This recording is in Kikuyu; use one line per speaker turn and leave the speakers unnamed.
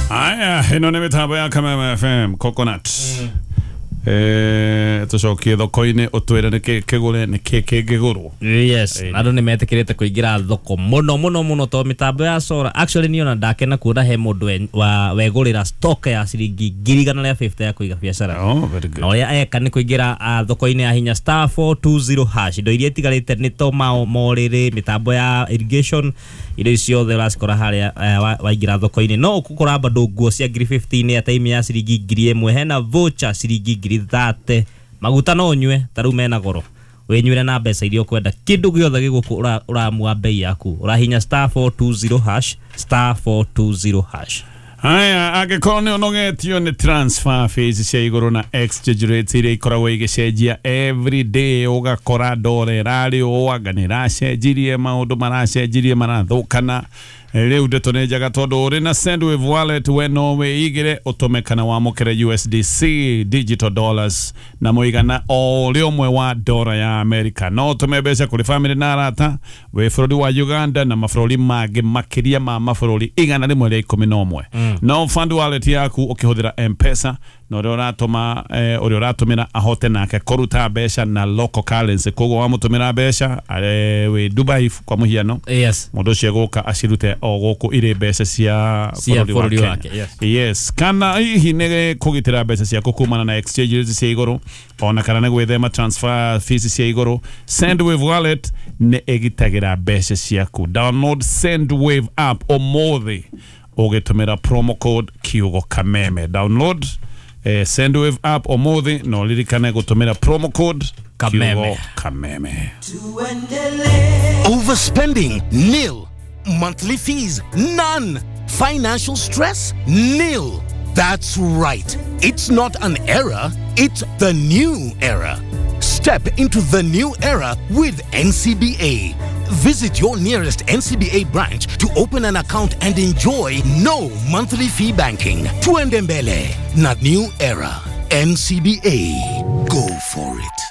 Aya, ĩno nĩ mĩtambo ya Kameme FM Coconut. Tũcokie thoko-inĩ ũtwĩre nĩkĩ kĩgũre nĩkĩ kĩngĩgũrwo.
Yes, andũ nĩ metĩkĩrĩte kũingĩra thoko mũno mũno mũno tondũ mĩtambo ya sora actually niĩ ona ndakena kuona he mũndũ wegũrĩra stock ya ciringi 150,000 ya kũiga biacara.
Oh, very good.
Na ũrĩa eka nĩ kũingĩra thoko-inĩ ya hinya *420# indo iria itigarĩte nĩ to morĩrĩ, mĩtambo ya irrigation, indo icio ciothe ũracikora harĩa waingĩra thoko-inĩ. No ũgũkora bado nguo cia 15,000 airtime ya ciringi 1,000, hena voucher ciringi 30,000, maguta no ũnyue ta rĩu mena goro, wĩnyuĩre na mbeca iria ũkwenda, kĩndũ gĩothe gĩgũkũ ũramua bei yaku, ũrahinya *420#, *420#.
Haya, angĩkorwo nĩ ũnogetio nĩ transfer fees cia igũrũ na exchange rates iria ikoragwo igĩcenjia every day, ũgakora ndora ĩrarĩ ũũ anga nĩ ĩracenjirie, maũndũ maracenjirie marathũkana. Rĩu ndeto nĩ njega tondũ ũrĩ na Sendwave wallet, we no wĩigĩre ũtũme kana wamũkĩre USDC digital dollars na mũigana o ũrĩa ũmwe wa ndora ya America. No ũtũme mbeca kũrĩ famĩlĩ na arata wĩ bũrũri wa Uganda na mabũrũri mangĩ makĩria ma mabũrũri 111. No fund wallet yaku ũkĩhũthĩra M-Pesa, na ũrĩa ũratũma ũrĩa ũratũmĩra ahote nake kũruta mbeca na local currency. Koguo wamũtũmĩra mbeca wĩ Dubai kwa mũhiano,
Yes.
mũndũ ũcio egũka acirute o gũkũ irĩ mbeca cia
Cia
bũrũri
bũrũri
wa
wake,
Kenya.
yes.
Yes, kana hihi nĩ kũgitĩra mbeca ciaku kumana na exchange rates cia igũrũ ona kana nĩ gwĩthema transfer fees cia igũrũ, Sendwave wallet nĩ ĩgitagĩra mbeca ciaku. Download Sendwave app ũmũthĩ ũgĩtũmĩra promo code kiugo Kameme. Download Sendwave app ũmũthĩ na ũririkane gũtũmĩra promo code
Kameme.
kiugo Kameme.
Overspending? Nil. Monthly fees? None. Financial stress? Nil. That's right. It's not an era, it's the new era. Step into the new era with NCBA. Visit your nearest NCBA branch to open an account and enjoy no monthly fee banking. Tuende mbele, not new era. NCBA. Go for it.